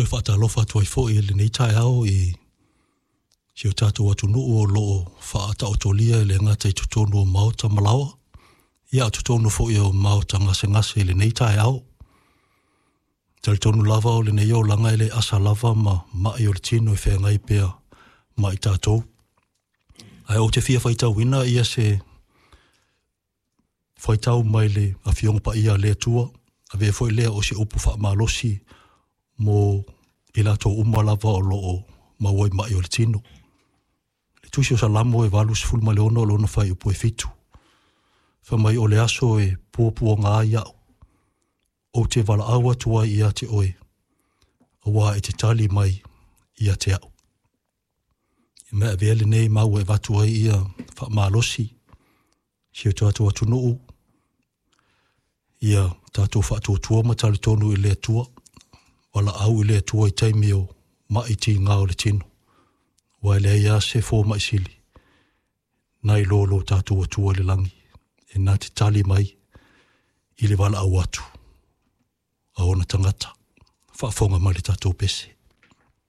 Toe faatalofa atu ai foi i lenei taeao i si o tatou atunuu o lo o faataotolia e le gata i totonu o maota ma laoa, ia a o totonu foi o maota gasegase i lenei taeao. E talitonu lava o lenei olaga e le asa lava ma mai o le tino e feagai pea ma i tatou. Ae ou te fia faitauina ia se faitau mai le Afioga Paia a le Atua, avea foi lea o se upu faamalosi mo i latou uma lava o lo o maua i mai o le tino. Le tusi o Salamo e 86 o lona fuaiupu e 7. Fai mai o le aso e puapuaga ai au, ou te valaau atu ai ia te oe, auā e te tali mai ia te au. I mea avea lenei mau e avatu ai ia faamalosi si o tatou atunuu, ia tatou faatuatua ma talitonu i le Atua, valaau i le Atua i taimi o mai tiga o le tino, aua e leai lava se fomai sili nai lo lo tatou Atua i le lagi, e na te tali mai i le valaau atu a ona tagata. Faafofoga mai le tatou pese.